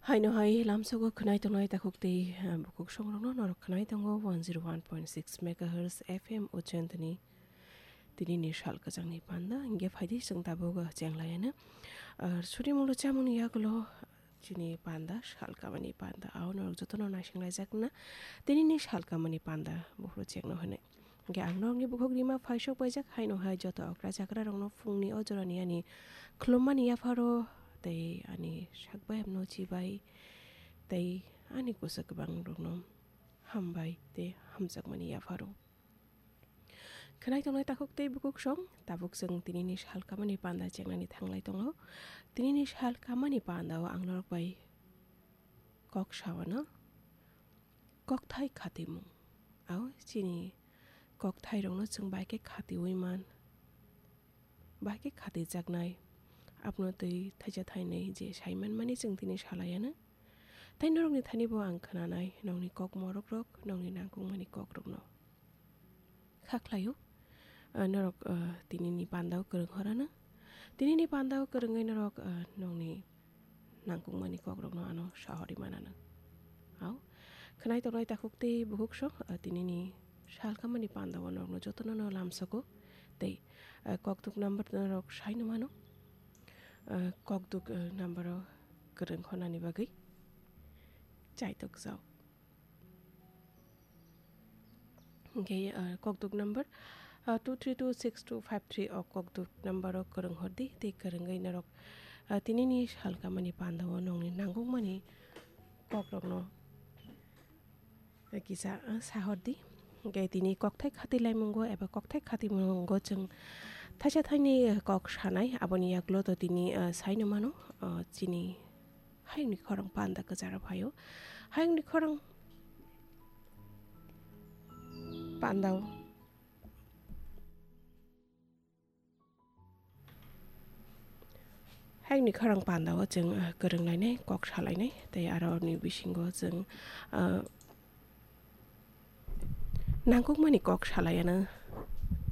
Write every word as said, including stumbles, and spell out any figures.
Haino hai lamsogo khwnai tongnai takhuk tei, eh, bukhuk songrokno norok khwnai tongo one zero one point six megahertz F M Ujjayantini tinini sal kwchangni panda. Hingke phaidi chwng tabuk, eh, chenglayano. Eh, suri munglo chamungni yagulo chini panda, sal kamani panda. Ao norok jotono naisinglaijak na tinini sal kamani panda buphuru chengno hwnwi. Hingke ang norokni bukhuk rima phaisok paijak, haino hai joto okra chakra rokno phungni o jorani ani khulummani yapharo tei ani sak bayapno chibai tei ani kusa kwbang rokno hambai tei hamjakmani yapharo. Khwnai tongnai takhuk tei bukhuk song, tabuk chwng tinini sal kamani panda chengnani thanglai tongo. Tinini sal kamani pandao ang norok bai kok sawano. Kokthai khatimung. Ao chini kokthairokno chwng bai khe khatiui man, bai khe khatijaknai. Abono twi thaisa thainwi je sai manmani chwng tini salayano. Tei norokni thani bo ang khwnanai nokni kok morokrok, nokni nangkukmani kokrokno. Kha khlaio, ah, norok, ah, tinini pandao kwrwng horano. Tinini pandao kwrwngwi norok, ah, nokni nangkukmani kokrokno ano sahori manano. Ao, khwnai tongnai takhuk tei bukhuk song, ah, tinini sal kamani pandao norokno jotono no lamsogo. Tei, ah, kokduk number norok saino mano. Ah, kokduk, ah, number o kwrwng hornani bagwi chaitok jao. Hingke, ah, kokduk number, ah, two three two six two five three o kokduk number o kwrwng hordi, tei kwrwngwi norok, ah, tinini sal kamani pandao nokni nangkukmani kokrokno, ah, kisa, ah, sahordi. Hingke tini kokthai khati laimungo eba kokthai khatimungo chwng thaisa thaini kok sanai, aboni yagulo to tini, ah, saino mano, ah, chini hayungni khorang panda kwcharo phaio. Hayungni khorang pandao. Hayungni khorang pandao chwng, ah, kwrwng lainai, kok salainai, tei aroni bisingo chwng, ah, nangkukmani kok salaiano